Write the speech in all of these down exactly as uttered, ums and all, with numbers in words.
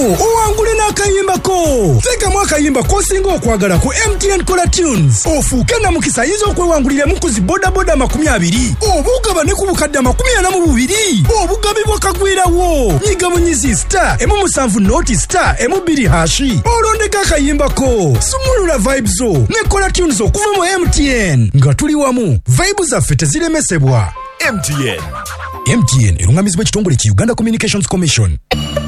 Owangule n'akayimbako. Teekamu akayimba k'osinga okwagala ku M T N Kola Tunes, ofuuke namukisa ayinza okwewanguliramu ku zi bodaboda amakumi abiri, oba ogabane ku bukadde amakumi ana mu bubiri obugabi bwakagwirawo. Nyiga bunyizi star emu musanvu noti star emu bbiri hashi, olondeko akayimbako. Sumulula vibes zo ne Kola Tunes okuva mu M T N. Nga tuli wamu, vibe zaffe teziremesebwa. M T N. M T N erungamizibwa ekitongole ki Uganda Communications Commission.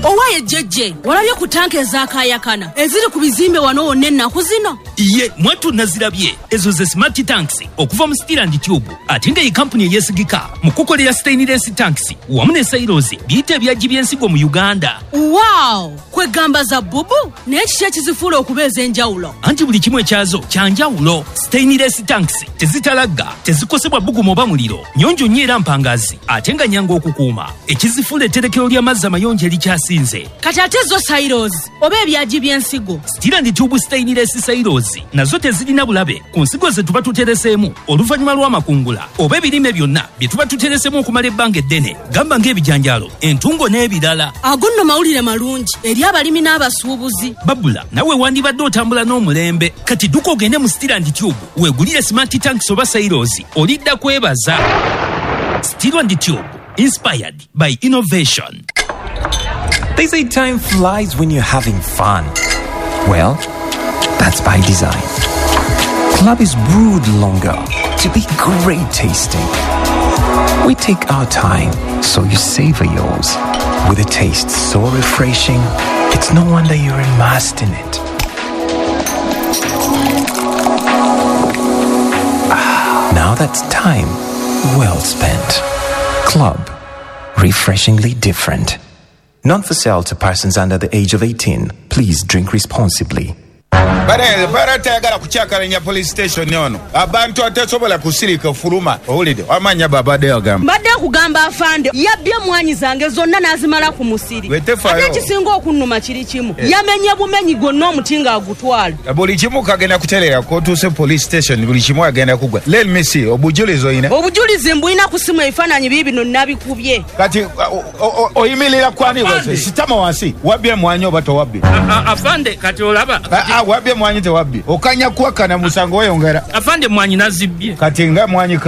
Owaye jjejje, walabye ku tanka ezakayakana eziri ku bizimbe wano wonna ennaku zino? Iye, mwattu nazirabye. Ezo ze smart tanks okuva mu Steel and Tube, ate nga ye kampuni eyeesigika mu kukolera stainless tanks wamu ne silos biyite ebyagi by'ensigo mu Uganda. Wow, kwegamba za bubu, naye kiki ekizifuula okuba ez'enjawulo? Anti buli kimu ekyazo kya njawulo. Stainless tanks tezitalagga, tezikosebwa bbugumu oba muliro, nnyonjo nnyo era mpangazi, ate nga nnyangu okukuuma. Ekizifuula etterekero ly'amazzi amayonjo erikyasinze. Kati ate zo silos oba ebyagi by'ensigo? Steel and Tube stainless silos nazo tezirina bulabe ku nsigo ze tuba tutereseemu oluvannyuma lw'amakungula oba ebirime byonna bye tuba tutereseemu okumala ebbanga eddene, gamba ng'ebijanjaalo, entungo n'ebirala. Ago nno mawulire malungi eri abalimi n'abasuubuzi. Babula, nawe wandibadde otambula n'omulembe. Kati dduka ogende mu Steel and Tube weegulire smart tanks oba silos, olidda kwebaza. Steel and Tube, inspired by innovation. They say time flies when you're having fun. Well, that's by design. Club is brewed longer to be great tasting. We take our time so you savor yours. With a taste so refreshing, it's no wonder you're immersed in it. Ah, now that's time well spent. Club, refreshingly different. Not for sale to persons under the age of eighteen. Please drink responsibly. Bare baratayagala kucyakalanya police station ono. Abantu atasobola kusirika fuluma. Owulidde amanya babadde agamba. Mbadde kugamba afande yabbye mwanyi zange zonna n'azimala ku musiri. Ate ekisinga okunnuma kiri kimu. Eh. Yamenye bumenyi gwonna omuti ng'agutwala. Buli kimu kagenda kuterera kotuuse police station, buli kimu agenda kugwa. Let me see obujulizi oyina. Obujulizi mbulina ku simu, ebifaananyi biibino nabikubye. Kati oyimirira kwani wese sitama wansi wabbye mwanyi oba towabbye? Afande kati olaba. Wabbye mwanyi tewabbye. Okanya kuwakana musango weyongera. Afande mwanyi nazibbye. Kati nga mwanyi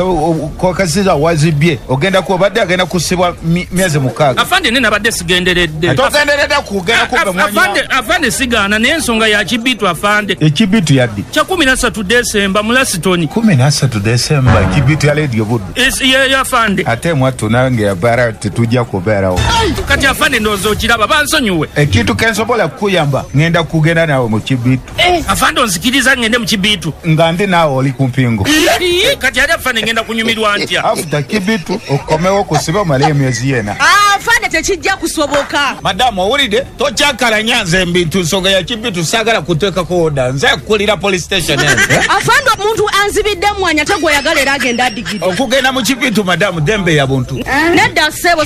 kokasiza wazibbye ogenda ku obadde agenda kusibwa myezi mukaaga. Afande ne nabadde sigenderedde. Togenderedde kugenda kubba mwanyi. Afande afande sigaana naye ensonga ya kibitu afande. Ekibitu yaddi? Kya kumi na ssatu Desemba mu Lasitoni. Kumi na ssatu Desemba kibitu ya Radio Buddu. Ye afande. Ate mwattu nange abara tetujja kubeerawo. Kati afande ndowooza okiraba bansonyiwe. Ekintu kensobola kukuyamba ngenda kugenda naawe mu kibitu. Eh, afande onzikiriza ngende mu kibitu. Nga ndi naawe oli ku mpingo. Kati ate afande ngenda kunyumirwa ntya? After kibitu okomewo kusiba omale emyezi yena. Ah, afande tekijja kusoboka. Madamu owulidde tokyakalanya nze ebintu nsonga ya kibitu saagala kuteekako oda nze kukulira police station eno. Afande omuntu anzibidde mwanyi ate gw'oyagala era agenda adigidde. Okugenda mu kibitu madamu dembe ya buntu. Nedda ssebo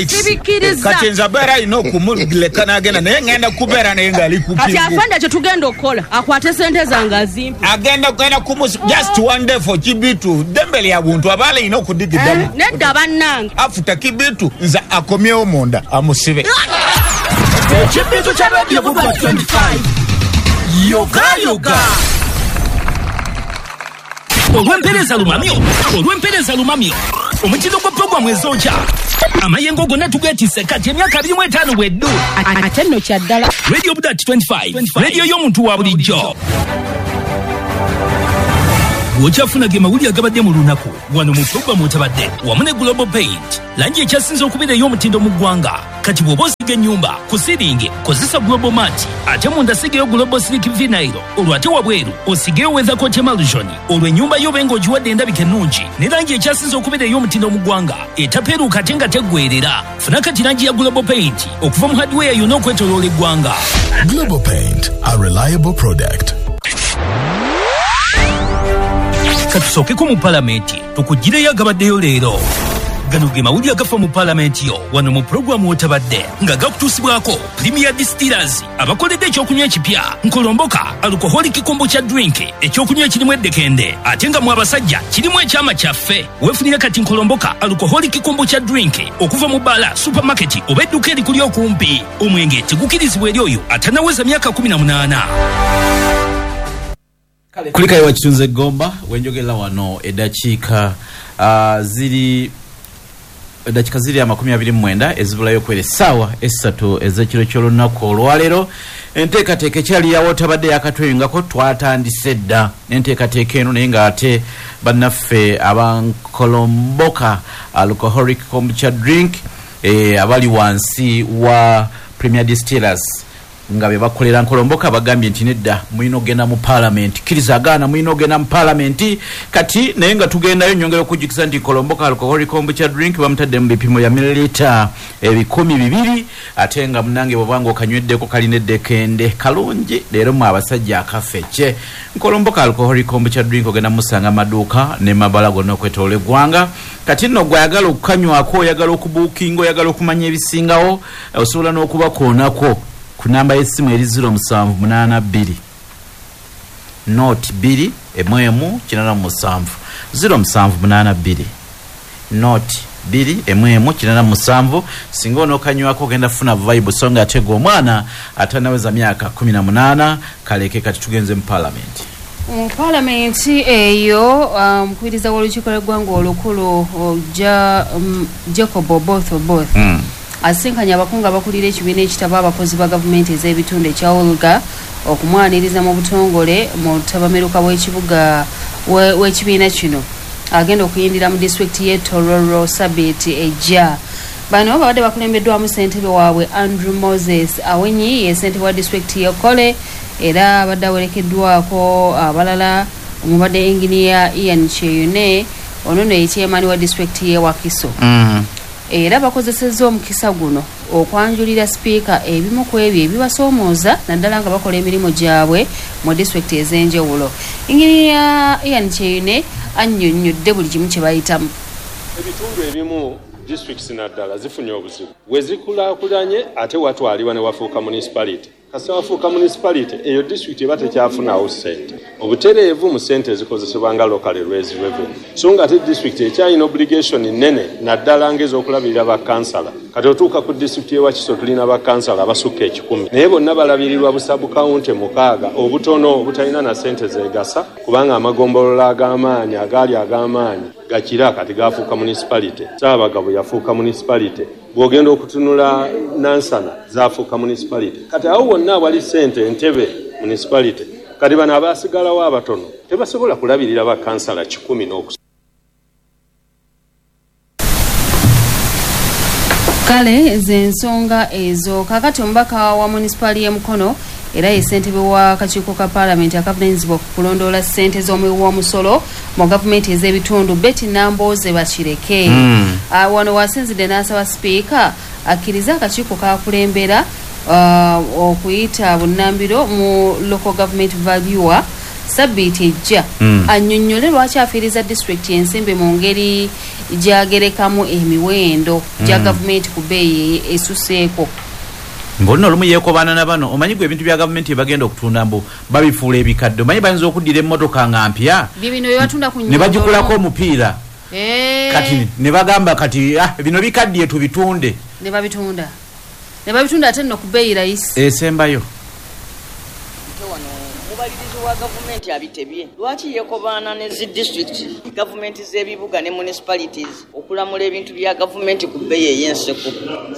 sibikkiriza. Kati nze abeera alina okumuleka n'agenda naye ngenda kubeera naye ng'ali ku mpingo. Kati afande kye tugenda okukola akwate sente zange azimpe. Agenda kugenda kumus just one day for kibitu dembe lya buntu abaala alina okudigiddamu. Nedda bannange. Afuta kibitu nze akomyewo munda amusibe. Ekibitu kya Radio Buddu twenty-five. Yoga yoga. Olw'empeereza lumamyo, olw'empeereza lumamyo, omutindo gwa puroguramu ezokya amayengo gonna tugeetisse kati emyaka abiri mu etaano bweddu. Ate nno kya ddala. Radio Buddu twenty-five, radio y'omuntu wa bulijjo. Bw'okyafuna ge mawulire agabadde mu lunaku wano mu puroguramu otabadde wamu ne Global Paint, langi ekyasinze okubeera ey'omutindo mu ggwanga. Kati bw'oba osiga ennyumba ku siringi kozesa Global Mat, ate munda sigayo Global Silk Vinyl, olwo ate wabweru osigeyo Weathercoat Emulsion, olwo ennyumba yo obe ng'ogiwadde endabika ennungi ne langi ekyasinze okubeera ey'omutindo mu ggwanga etapeeruuka ate nga teggweerera. Funa kati langi ya Global Paint okuva mu hardware yonna okwetooloola eggwanga. Global Paint, a reliable product. Katusookeko mu palamenti tukugireyo agabaddeyo leero. Gano ge mawulire agafa mu paalamenti yo wano mu pulogulaamu w'otabadde nga gakutuusibwako Premier Distillers abakoledde ekyokunywa ekipya Nkolomboka alcoholic kombucha drink, ekyokunywa ekirimu eddekende ate nga mu abasajja kirimu ekyama kyaffe. Weefunire kati Nkolomboka alcoholic kombucha drink okuva mu bbaala, supermarket oba edduuka erikuli okumpi. Omwenge tegukirizibwa eri oyo atanaweza myaka kumi na munaana. Kulikayo wakitunze Gomba wenjogera wano eddakiika uh, ziri eddakiika ziri amakumi abiri mu mwenda ezibulayo kwera essaawa essatu ez'ekiro ky'olunaku olwaleero. Enteekateeka ekyali yawo tabadde yakatweyungako, twatandise dda enteekateeka eno, naye ng'ate bannaffe abankolomboka alcoholic kombucha drink eh, abali wansi wa Premier Distillers nga be bakolera Nkolomboka bagambye nti nedda, mulina okugenda mu paalamenti, kkiriza agaana mulina okugenda mu paalamenti. Kati naye nga tugendayo, nyongera okujjukiza nti Nkolomboka alcoholic kombucha drink bamutadde mu bipimo bya mililita ebikumi bibiri, ate nga munange bw'obanga okanyweddeko kalina eddekende kalungi leero mu abasajja akafece. Nkolomboka alcoholic kombucha drink ogenda musanga amaduuka ne mabala gonna okwetoloola eggwanga. Kati nno gw'ayagala okukanywako, oyagala okubuukinga, oyagala okumanya ebisingawo, osobola n'okubakoonako ku namba y'essimu eri ziro musanvu munaana bbiri noti bbiri emu emu kinaana mu musanvu, ziro musanvu munaana bbiri noti bbiri emu emu kinaana mu musanvu. Singa onookanywako ogenda kufuna vibe, so nga ate gwe omwana atanaweza myaka kumi na munaana kaleke. Kati tugenze mu paalamenti. Mu paalamenti eyo, omukubiriza w'olukiiko lw'eggwanga olukulu ja, um, Jacob Oboth Oboth Mm. asinkanye abakungu abakulira ekibiina ekitaba abakozi ba gavumenti ez'ebitundu ekya Olga okumwaniriza mu butongole mu ttabamiruka w'ekibuga we- w'ekibiina kino agenda okuyindira mu disitulikiti y'e Tororo sabiiti ejja. Bano babadde bakulembeddwamu ssentebe waabwe Andrew Moses Awenyi, ye ssentebe wa disitulikiti y'e Kole, era abadde awerekeddwako abalala omubadde Engineer Ian Kyeyune, ono nno ye chairman wa disitulikiti y'e Wakiso. Mm. Era bakozesezza omukisa guno okwanjulira sipiika ebimu ku ebyo ebibasoomooza naddala nga bakola emirimu gyabwe mu disitulikiti ez'enjawulo. Engineer Ian Kyeyune annyonnyodde buli kimu kye bayitamu. Ebitundu ebimu, districts naddala, zifunye obuzibu we zikulaakulanye, ate watwalibwa ne wafuuka municipality. Kasita wafuuka municipality, eyo district eba tekyafunawo ssente obutereevu mu ssente ezikozesebwa nga local raised revenue, so nga ate district ekyalina obligation nnene naddala ng'ez'okulabirira bakansala. Kati otuuka ku district y'e Wakiso, tulina bakansala abasukka ekikumi, naye bonna balabirirwa busabukawunti mukaaga obutono obutalina na ssente zeegasa, kubanga amagombolola ag'amaanyi agaali ag'amaanyi gakira kati gafuuka municipality. Ssaabagabo yafuuka municipality, bw'ogenda okutunula Nansana zafuuka municipality. Kati awo wonna awali ssente, Entebe municipality. Kati bano abaasigalawo abatono tebasobola kulabirira bakansala kikumi n'okus Kale z'ensonga ezo. Kakati omubaka wa munisipaali y'e Mukono era ye ssentebe w'akakiiko ka paalamenti akavunaanyizibwa ku kulondoola ssente z'omuwi w'omusolo mu gavumenti ez'ebitundu, Betty Nambooze Bakireke, Mm. Ah, wano wasinzidde n'asaba sipiika akkirize akakiiko kakulembera ah, okuyita bunnambiro mu local government valuer sabbiiti ejja, Mm. annyonnyole lwaki afiiriza disitulikiti ensimbi mu ngeri gy'agerekamu emiwendo gya Mm. gavumenti ku bbeeyi esuseeko. Mbona olumu yeekobaana na bano, omanyi gwe ebintu bya gavumenti bagenda okutunda mbu babifuula ebikadde. Omanyi bayinza okuddira emmotoka nga mpya bibino bye batunda ku ne bagikulako omupiira, Eh, kati ne bagamba kati, ah, bino bikaddiye, tubitunde. Ne babitunda ne babitunda ate nno ku bbeeyi rayisi. Esembayo. Omubalirizi wa gavumenti abitebye lwaki yeekobaana ne zi disitulikiti, gavumenti z'ebibuga ne municipalities okulamula ebintu bya gavumenti ku bbeeyi ey'enseko.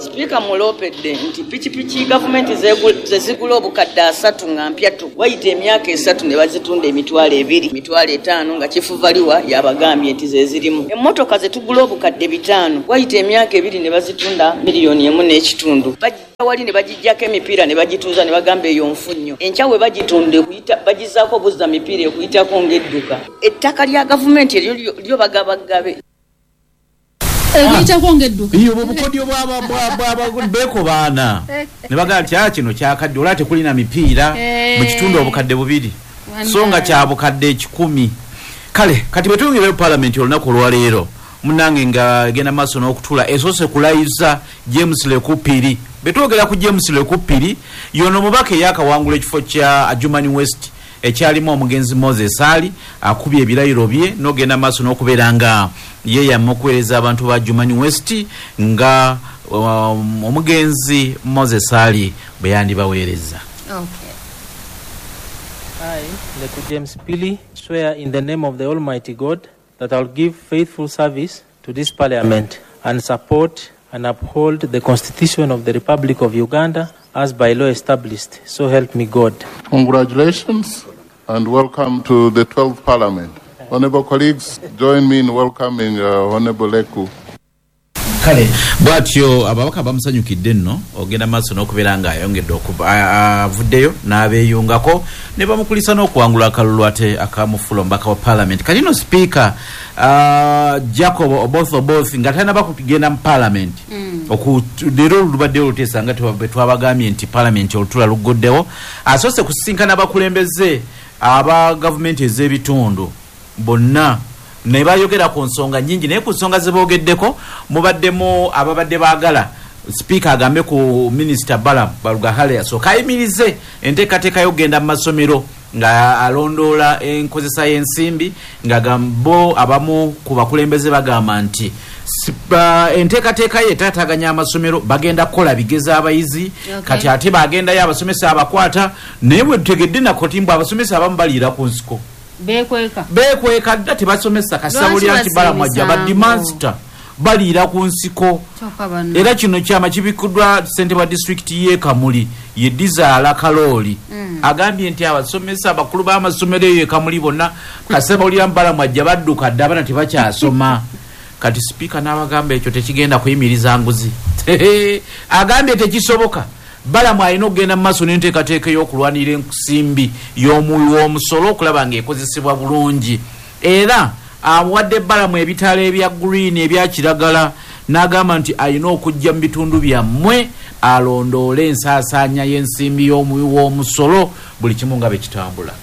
Sipiika muloopedde nti pikipiki gavumenti zeegu- ze zigula obukadde asatu nga mpya tu, wayita emyaka esatu ne bazitunda emitwalo ebiri, emitwalo etaano, nga chief valuer yabagambye nti ze zirimu. Emmotoka ze tugula obukadde bitaano, wayita emyaka ebiri ne bazitunda miliyoni emu n'ekitundu. Bajja wali ne bagijjako emipiira ne bagituuza ne bagamba eyo nfu nnyo. Enkya we bagitunda ekuyita bagizaako buzza mipiira ekuyitako ng'edduka. Ettaka lya gavumenti eryo lyo- lyo bagabagabe. Ekuyitako ng'edduka. Iyo obukodyo bwaba beekobaana ne bagamba nti, "Ah, kino kyakadde, olaba tekulina mipiira, Eh. mu kitundu obukadde bubiri, so nga kya bukadde ekikumi." Kale kati bwe tuyingirayo palamenti olunaku olwaleero, munange nga egenda maaso n'okutula esoose kulayiza James Lekupiri. Betwogera ku James Lekupiri, yono mubaka eyakawangula ekifo kya Adjumani West ekyalimu omugenzi Moses Ali, akubye ebirayiro bye n'ogenda maaso n'okubeera nga yeyama okuweereza abantu ba Adjumani West nga um, omugenzi Moses Ali bwe yandibaweereza. Okay. I, Leku James Pili, swear in the name of the Almighty God that I will give faithful service to this parliament and support and uphold the Constitution of the Republic of Uganda as by law established. So help me God. Congratulations and welcome to the twelfth Parliament. Honorable colleagues, join me in welcoming uh, Honorable Leku. Kale bwatyo ababaka bamusanyukidde nno ogenda maaso n'okubeera nga ayongedde avuddeyo n'abeeyungako ne bamukulisa n'okuwangula akalulu ate akamufuula omubaka wa parliament. Kati no sipiika uh, Jacob Oboth Oboth nga tannaba kugenda mu parliament, mm. leero lubaddeyo oluteesa nga twabagambye nti parliament olutula luggoddewo, asoose kusisinkana abakulembeze aba gavumenti ez'ebitundu bonna ne bayogera ku nsonga nnyingi, naye ku nsonga ze boogeddeko mubaddemu ababadde baagala sipiika agambe ku minisita Balaam Barugahare asooke ayimirize enteekateeka y'okugenda mu masomero nga alondoola enkozesa y'ensimbi, nga bo abamu ku bakulembeze bagamba nti enteekateeka ye etaataganya amasomero, bagenda kukola bigeza abayizi. Okay. Kati ate bagendayo abasomesa abakwata, naye bwe tutegedde nako mbu abasomesa abamu baliira ku nsiko bekweka bekweka dda tebasomesa kasabulira nti Balaam ajja badimansita baliira ku nsiko. Era kino kyama kibikuddwa ssentebe wa disitulikiti y'e Kamuli ye Dizaala Kalooli, mm. agambye nti abasomesa abakulu b'amasomero eyo e Kamuli bonna kasabulira Balaam ajja badduka dda abaana tebakyasoma. Kati sipiika n'abagamba ekyo tekigenda kuyimiriza nguzi. Agambye tekisoboka. Balaam alina okugenda mu maaso n'enteekateeka ey'okulwanirira ensimbi y'omuwi w'omusolo okulaba ng'ekozesebwa bulungi. Era awadde Balaam ebitaala ebya green ebya kiragala n'agamba nti alina okujja mu bitundu byammwe alondoole ensaasaanya y'ensimbi y'omuwi w'omusolo buli kimu nga bwe kitambula.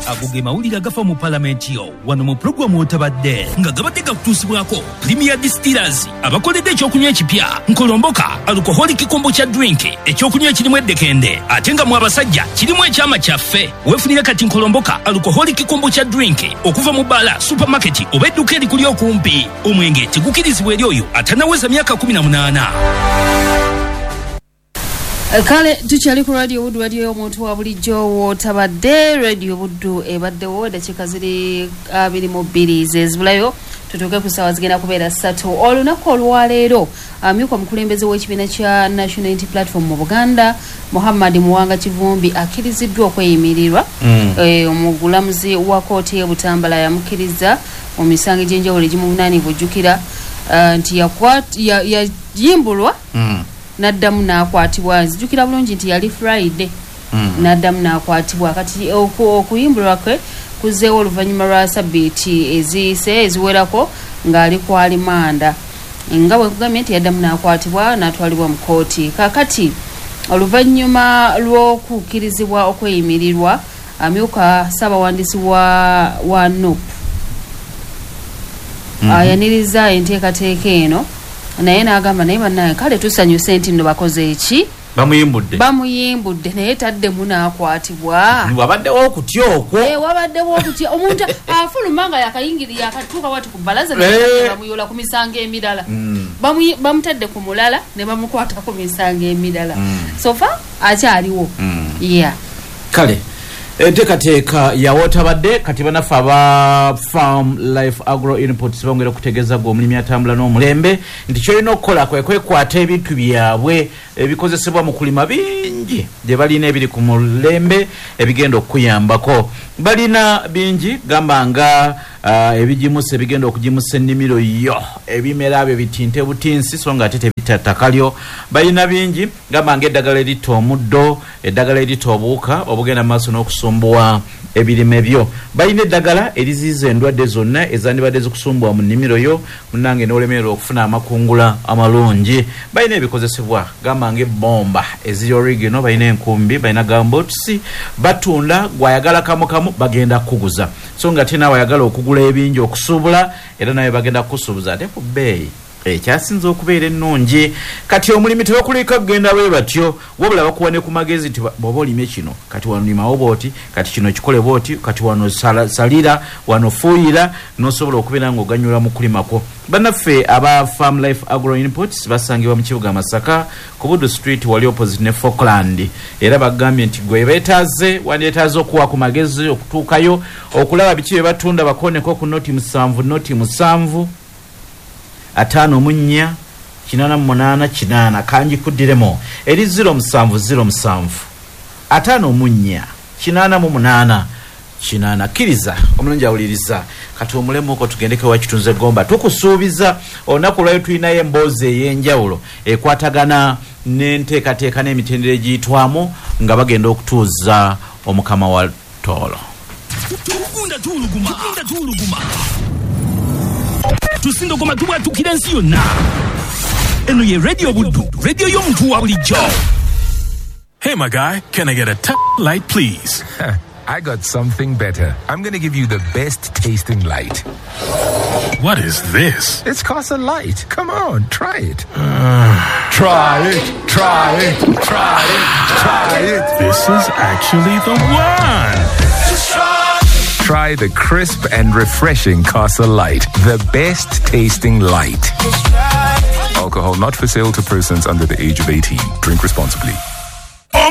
Ago ge mawulire agafa mu palamenti yo wano mu pulogulaamu otabadde nga gabadde gakutuusibwako Premier Distillers abakoledde ekyokunywa ekipya Nkolomboka alcoholic kombucha drink, ekyokunywa ekirimu eddekende ate nga mu abasajja kirimu ekyama kyaffe. Weefunire kati Nkolomboka alcoholic kombucha drink okuva mu bbaala, supermarket oba edduuka erikuli okumpi. Omwenge tegukirizibwa eri oyo atannaweza myaka kumi na munaana. Kale tukyali ku Radio Buddu, radio y'omuntu wa bulijjo w'otabadde. Radio Buddu ebaddewo eddakiika ziri abiri mu bbiri zezibulayo tutuuke ku ssaawa zigenda kubeera ssatu. Olunaku olwaleero amyuka omukulembeze w'ekibiina kya National Unity Platform mu Buganda Muhammad Muwanga Kivumbi akkiriziddwa okweyimirirwa. Mm. E, omugulamuzi wa kkooti y'e Butambala yamukkiriza mu misango egy'enjawulo egimuvunaanibwa ojjukira uh, nti yayimbulwa ya, mm. n'addamu n'akwatibwa. Nzijukira bulungi nti yali Friday mm. n'addamu n'akwatibwa. Kati okuyimbulwa kwe kuzzeewo oluvannyuma lwa sabbiiti eziyise eziwerako ng'ali ku alimanda, nga bwe nkugambye nti yaddamu n'akwatibwa n'atwalibwa mu kkooti. Kaakati oluvannyuma lw'okukkirizibwa okweyimirirwa, amyuka ssaabawandiisi wa, wa N U P mm -hmm. ayaniriza enteekateeka eno, naye n'agamba naye bannaye kale tusanyuse nti nno bakoze eki, bamuyimbudde bamuyimbudde naye taddemu n'akwatibwa. Wabaddewo okutya okwo. Eh, wabaddewo okutya omuntu afuluma nga yakayingirira yakatuuka wati ku bbalaza ne bamuyola ku misango emirala. Mm. Bamutadde ku mulala ne bamukwata ku misango emirala. Mm. So far akyaliwo. Mm. Yeah. Kale enteekateeka ya wootabadde kati bannaffe aba Farm Life Agro Inputs bongera okutegeeza gwe omulimi atambula n'omulembe nti kyolina okukola kwe kwekwata ebintu byabwe ebikozesebwa mu kulima bingi gye balina ebiri ku mulembe ebigenda okukuyambako. Balina bingi gamba nga uh, ebigimusa ebigenda okugimusa ennimiro yo, ebimera byo bitinte butinsi so nga ate tebitta ttaka lyo. Balina bingi gamba nga eddagala eritta omuddo, eddagala eritta obuwuka obugenda mu maaso n'okusumbuwa ebirime byo. Balina eddagala eriziyiza endwadde zonna ezandibadde zikusumbwa mu nnimiro yo, munnange n'olemererwa okufuna amakungula amalungi. Balina ebikozesebwa gamba ng'ebbomba eziri original, balina enkumbi, balina gumboots, batunda gwayagala kamu kamu bagenda kukuguza. So nga ate naawe ayagala okugula ebingi okusuubula, era nawe bagenda kukusuubuza ate ku bbeeyi ekyasinze okubeera ennungi. Kati omulimi tebakuleka kugenda bwe batyo, wabula bakuwa ne ku magezi nti bw'oba olimye kino kati wano limawo bw'oti, kati kino kikole bw'oti, kati wano salira, wano fuuyira, n'osobola okubeera ng'oganyulwa mu kulimako. Bannaffe aba Farm Life Agro Inputs basangibwa mu kibuga Masaka ku Buddu Street wali opposite ne Falkland, era bagambye nti gwe beetaaze wandyetaaze okuwa ku magezi okutuukayo okulaba biki bye batunda, bakoneko ku noti musanvu noti musanvu ataano mu nnya kinaana mu munaana kinaana. Kangi kuddiremo eri ziro musanvu ziro musanvu ataano mu nnya kinaana mu munaana kinaana. Kkiriza omulungi awuliriza, kati omulemuko tugendeko wa Kitunze Gomba. Tukusuubiza olunaku lwayo tulinayo emboozi ey'enjawulo ekwatagana n'enteekateeka n'emitendera egiyitwamu nga bagenda okutuuza omukama wa Tooro. Tugunda tuwuluguma, tugunda tuwuluguma, tusindogoma tubwatukira ensi yonna. Eno ye Radio Buddu, radio y'omuntu wa bulijjo. Hey my guy, can I get a t- light please? I got something better. I'm going to give you the best tasting light. What is this? It's Casa Light. Come on, try it. Uh, try it, try it, try it, try it. This is actually the one. Just try. Try the crisp and refreshing Casa Light, the best tasting light. Alcohol not for sale to persons under the age of eighteen. Drink responsibly.